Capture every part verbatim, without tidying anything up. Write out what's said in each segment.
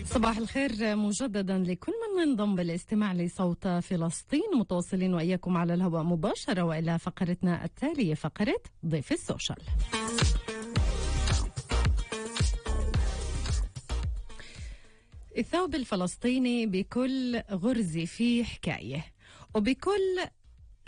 صباح الخير مجددا لكل من انضم بالاستماع لصوت فلسطين. متواصلين وإياكم على الهواء مباشرة وإلى فقرتنا التالية، فقرة ضيف السوشيال. الثوب الفلسطيني بكل غرزة فيه حكاية، وبكل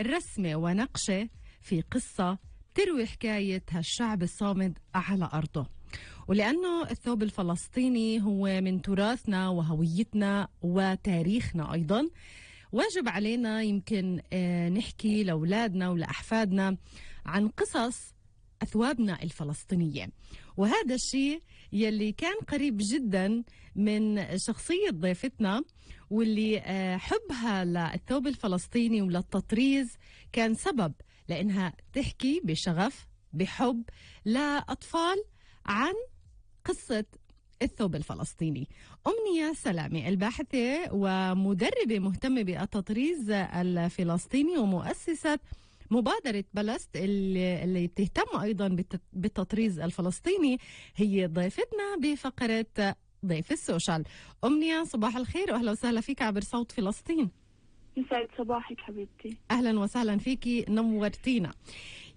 رسمة ونقشة في قصة تروي حكاية هالشعب الصامد على أرضه. ولأنه الثوب الفلسطيني هو من تراثنا وهويتنا وتاريخنا أيضا، واجب علينا يمكن نحكي لأولادنا ولأحفادنا عن قصص أثوابنا الفلسطينية. وهذا الشيء يلي كان قريب جدا من شخصية ضيفتنا، واللي حبها للثوب الفلسطيني وللتطريز كان سبب لأنها تحكي بشغف بحب لأطفال عن قصة الثوب الفلسطيني. أمنية سلامي الباحثة ومدربة مهتمة بالتطريز الفلسطيني ومؤسسة مبادرة بلست اللي, اللي بتهتم أيضا بالتطريز الفلسطيني، هي ضيفتنا بفقرة ضيف السوشيال. أمنية صباح الخير وأهلا وسهلا فيك عبر صوت فلسطين. يسعد صباحك حبيبتي. أهلا وسهلا فيكي، نورتينا.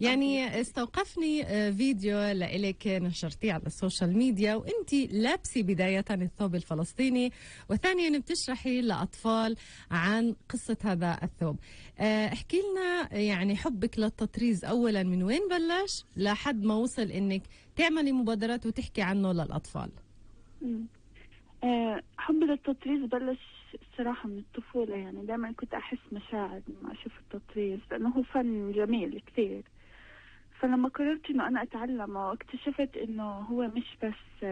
يعني استوقفني فيديو لإلك نشرتيه على السوشيال ميديا وانتي لابسي بداية الثوب الفلسطيني، وثانيا بتشرحي لأطفال عن قصة هذا الثوب. احكي لنا يعني حبك للتطريز أولا من وين بلش لحد ما وصل انك تعملي مبادرات وتحكي عنه للأطفال؟ أه حبي للتطريز بلش الصراحة من الطفولة. يعني دائما كنت أحس مشاعر لما أشوف التطريز لأنه هو فن جميل كثير. فلما قررت إنه أنا أتعلمه اكتشفت إنه هو مش بس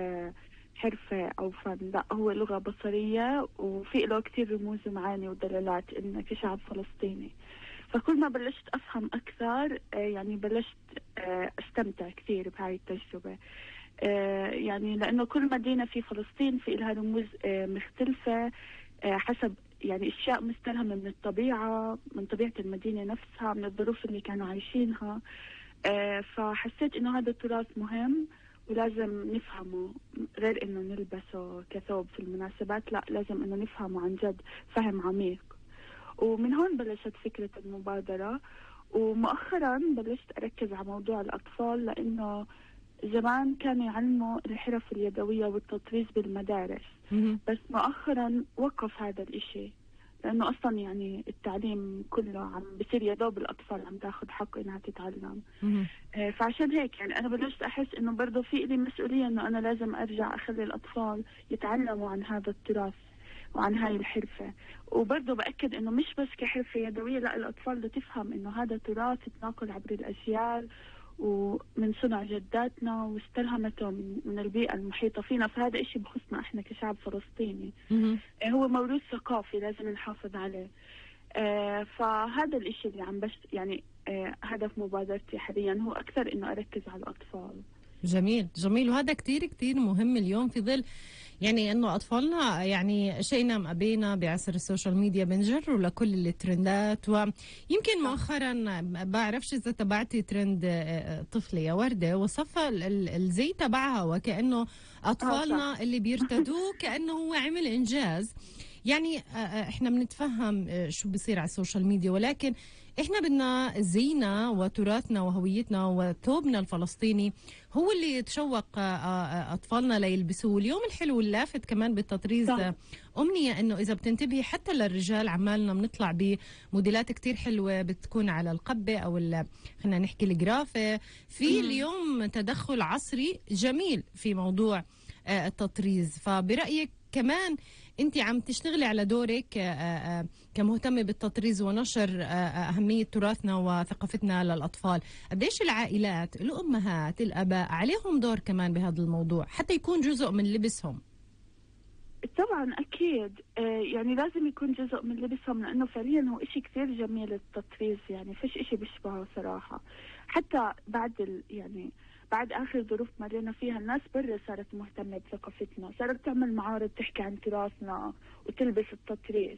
حرفة أو فن، لا هو لغة بصرية وفي له كثير رموز ومعاني ودلالات إنه كشعب فلسطيني. فكل ما بلشت أفهم أكثر يعني بلشت أستمتع كثير بهاي التجربة. يعني لأنه كل مدينة في فلسطين في لها رموز مختلفة حسب يعني اشياء مستلهمه من الطبيعه، من طبيعه المدينه نفسها، من الظروف اللي كانوا عايشينها. آه فحسيت انه هذا التراث مهم ولازم نفهمه، غير انه نلبسه كثوب في المناسبات، لا لازم انه نفهمه عن جد فهم عميق. ومن هون بلشت فكره المبادره. ومؤخرا بلشت اركز على موضوع الاطفال، لانه زمان كانوا يعلموا الحرف اليدوية والتطريز بالمدارس، بس مؤخرا وقف هذا الاشي لانه اصلا يعني التعليم كله عم بصير يدوب الاطفال عم تاخذ حق انها تتعلم. آه فعشان هيك يعني انا بلشت احس انه برضه في لي مسؤولية انه انا لازم ارجع اخلي الاطفال يتعلموا عن هذا التراث وعن هاي الحرفة. وبرضه بأكد انه مش بس كحرفة يدوية، لا الاطفال بدها تفهم انه هذا تراث تناقل عبر الاجيال ومن صنع جداتنا واستلهمته من البيئة المحيطة فينا. فهذا إشي بخصنا إحنا كشعب فلسطيني. هو موروث ثقافي لازم نحافظ عليه. آه فهذا الإشي اللي عم بس يعني آه هدف مبادرتي حاليا هو أكثر إنه أركز على الأطفال. جميل جميل، وهذا كتير كتير مهم اليوم في ظل يعني انه اطفالنا يعني شئنا ام ابينا بعصر السوشيال ميديا بنجروا لكل الترندات. ويمكن مؤخرا بعرفش اذا تبعتي ترند طفله يا ورده وصف الزي تبعها وكانه اطفالنا اللي بيرتدوه كانه هو عمل انجاز. يعني احنا بنتفهم شو بيصير على السوشيال ميديا، ولكن احنا بدنا زينا وتراثنا وهويتنا وثوبنا الفلسطيني هو اللي يتشوق اطفالنا ليلبسوه. اليوم الحلو اللافت كمان بالتطريز أمنية انه اذا بتنتبهي حتى للرجال عمالنا بنطلع بموديلات كتير حلوه بتكون على القبه او خلينا نحكي الجرافه. في اليوم تدخل عصري جميل في موضوع التطريز. فبرأيك كمان انت عم تشتغلي على دورك كمهتمة بالتطريز ونشر أهمية تراثنا وثقافتنا للأطفال. قديش العائلات الأمهات الأباء عليهم دور كمان بهذا الموضوع حتى يكون جزء من لبسهم؟ طبعا أكيد يعني لازم يكون جزء من لبسهم، لأنه فعليا هو إشي كثير جميل التطريز. يعني فيش إشي بيشبهه صراحة. حتى بعد ال يعني بعد آخر ظروف مرينا فيها الناس برا صارت مهتمة بثقافتنا، صارت تعمل معارض تحكي عن تراثنا وتلبس التطريز.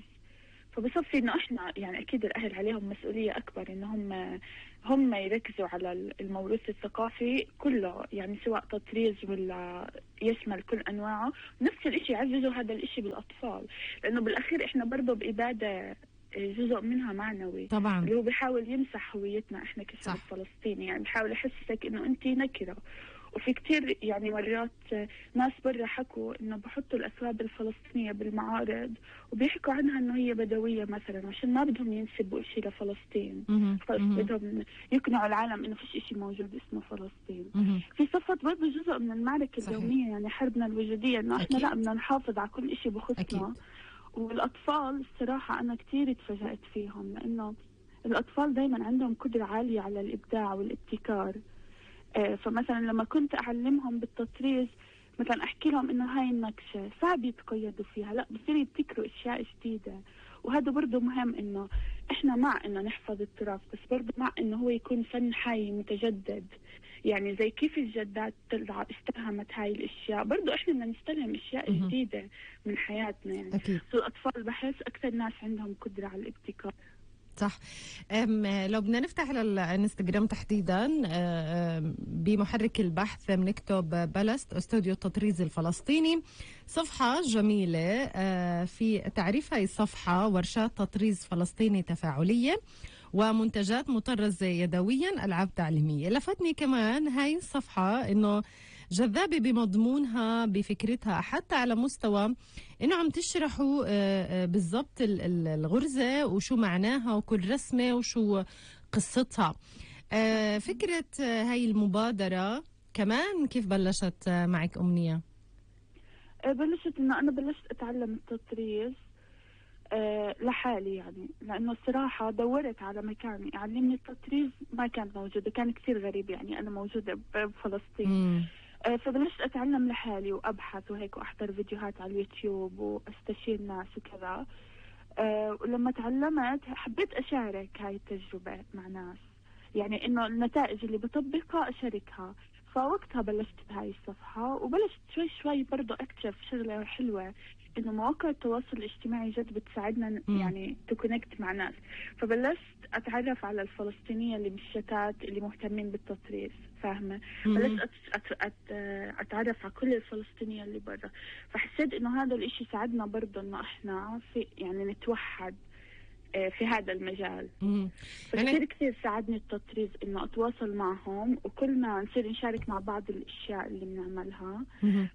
فبصفي إنه إحنا يعني أكيد الأهل عليهم مسؤولية أكبر إنهم هم يركزوا على الموروث الثقافي كله، يعني سواء تطريز ولا يشمل كل أنواعه. نفس الإشي يعززوا هذا الإشي بالأطفال، لأنه بالأخير إحنا برضه بإبادة جزء منها معنوي طبعا، اللي هو بيحاول يمسح هويتنا إحنا كشعب فلسطيني، يعني بيحاول يحسسك إنه أنت نكرة. وفي كتير يعني مرات ناس برا حكوا إنه بحطوا الأثواب الفلسطينية بالمعارض وبيحكوا عنها إنه هي بدوية مثلا، عشان ما بدهم ينسبوا إشي لفلسطين، بس بدهم يقنعوا العالم إنه فيش إشي موجود اسمه فلسطين. في صفت برضه جزء من المعركة صحيح. اليومية، يعني حربنا الوجودية، إنه إحنا لا بدنا نحافظ على كل إشي بخصنا أكيد. والأطفال الصراحة أنا كتير اتفاجأت فيهم، لأنه الأطفال دايما عندهم قدرة عالية على الإبداع والابتكار. فمثلا لما كنت أعلمهم بالتطريز، مثلا أحكي لهم إنه هاي النكشة صعب يتقيدوا فيها، لا بصير يبتكروا أشياء جديدة. وهذا برضو مهم، إنه إحنا مع إنه نحفظ التراث، بس برضو مع إنه هو يكون فن حي متجدد. يعني زي كيف الجدات استلهمت هاي الأشياء، برضو إحنا بدنا نستلهم أشياء جديدة من حياتنا. يعني أكيد. الأطفال بحس أكثر ناس عندهم قدرة على الابتكار. صح. لو بدنا نفتح على الانستغرام تحديدا بمحرك البحث بنكتب بلست استوديو التطريز الفلسطيني، صفحة جميلة في تعريف هاي الصفحة ورشات تطريز فلسطيني تفاعلية ومنتجات مطرزة يدويا، ألعاب تعليمية. لفتني كمان هاي الصفحة إنه جذابة بمضمونها بفكرتها، حتى على مستوى إنه عم تشرحوا بالضبط الغرزة وشو معناها وكل رسمة وشو قصتها. فكرة هاي المبادرة كمان كيف بلشت معك أمنية؟ بلشت إنه أنا بلشت أتعلم التطريز أه لحالي، يعني لأنه الصراحة دورت على مكان يعلمني التطريز ما كان موجود، كان كثير غريب. يعني أنا موجودة بفلسطين م. أه فبلشت أتعلم لحالي وأبحث وهيك وأحضر فيديوهات على اليوتيوب وأستشير ناس وكذا. أه ولما تعلمت حبيت أشارك هاي التجربة مع ناس، يعني إنه النتائج اللي بطبقها أشاركها. فوقتها بلشت بهاي الصفحة، وبلشت شوي شوي برضو أكتشف شغلة حلوة، إنه مواقع التواصل الاجتماعي جد بتساعدنا م. يعني تكونكت مع ناس. فبلشت أتعرف على الفلسطينية اللي بالشتات اللي مهتمين بالتطريز، فاهمة؟ بلشت أت... أت... أت... أتعرف على كل الفلسطينية اللي برا. فحسيت إنه هذا الإشي ساعدنا برضو إنه إحنا في يعني نتوحد في هذا المجال. فكثير يعني كثير ساعدني التطريز إنه أتواصل معهم وكلنا نصير نشارك مع بعض الأشياء اللي بنعملها.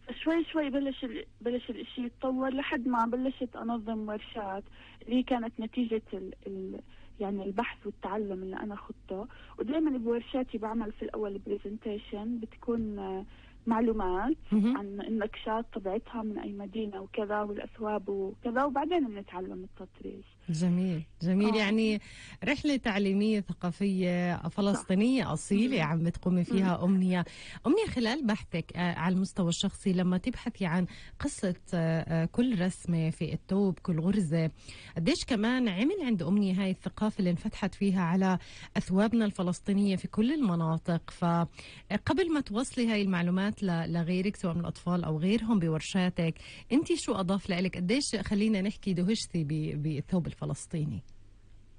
فشوي شوي بلش ال... بلش الإشي يتطور لحد ما بلشت أنظم ورشات اللي كانت نتيجة ال... ال... يعني البحث والتعلم اللي أنا خدته. ودائما بورشاتي بعمل في الأول بريزنتيشن بتكون معلومات عن النكشات طبيعتها من أي مدينة وكذا والأثواب وكذا، وبعدين بنتعلم التطريز. جميل جميل. آه. يعني رحلة تعليمية ثقافية فلسطينية أصيلة مم. عم بتقومي فيها مم. أمنية. أمنية خلال بحثك آه على المستوى الشخصي، لما تبحثي عن قصة آه كل رسمة في الثوب، كل غرزة، قديش كمان عمل عند أمنية هاي الثقافة اللي انفتحت فيها على أثوابنا الفلسطينية في كل المناطق؟ فقبل ما توصلي هاي المعلومات لغيرك سواء من الأطفال أو غيرهم بورشاتك، أنت شو أضاف لك؟ قديش خلينا نحكي دهشتي بالثوب الفلسطيني؟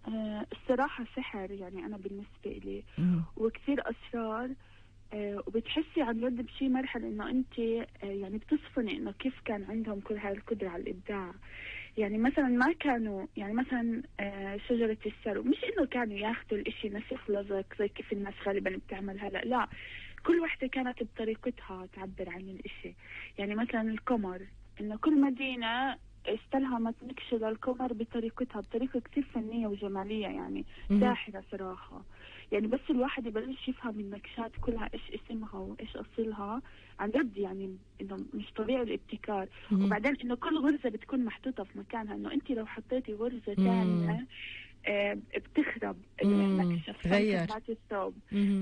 أه الصراحة سحر، يعني أنا بالنسبة لي وكثير أسرار. أه وبتحسي عن جد بشي مرحلة إنه أنت أه يعني بتصفني إنه كيف كان عندهم كل هاي القدرة على الإبداع. يعني مثلا ما كانوا يعني مثلا أه شجرة السرو، مش إنه كانوا ياخدوا الإشي نسخ لزق زي كيف الناس غالبا بتعمل هلا، لا، كل وحدة كانت بطريقتها تعبر عن الإشي. يعني مثلا القمر، إنه كل مدينة استلهمت نكشة للقمر بطريقتها، بطريقة كتير فنية وجمالية، يعني ساحرة صراحة. يعني بس الواحد يبلش يفهم النكشات كلها إيش اسمها وإيش أصلها، عن جد يعني إنه مش طبيعي الابتكار. وبعدين إنه كل غرزة بتكون محطوطة في مكانها، إنه أنت لو حطيتي غرزة ثانية آه بتخرب النكشة تبعت الثوب.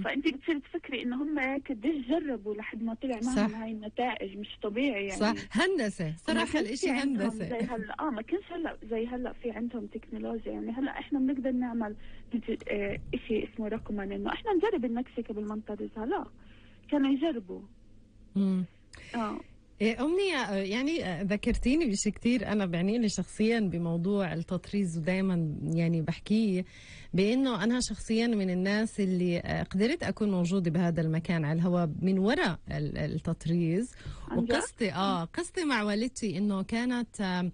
فأنت بتصير تفكري إنه هم قديش جربوا لحد ما طلع معهم هاي النتائج، مش طبيعي يعني. صح، هندسة صراحة الإشي هندسة. زي هلا آه ما كانش هلا زي هلا في عندهم تكنولوجيا. يعني هلا إحنا بنقدر نعمل آه إشي اسمه رقمن، إنه إحنا نجرب النكشة قبل ما نطرزها، لا كانوا يجربوا. امم آه إيه، أمنية، يعني ذكرتيني بشيء كتير أنا بعني لي شخصيا بموضوع التطريز، ودايما يعني بحكيه بأنه أنا شخصيا من الناس اللي قدرت أكون موجودة بهذا المكان على الهواء من وراء التطريز. عن جد؟ وقصتي آه قصتي مع والدتي إنه كانت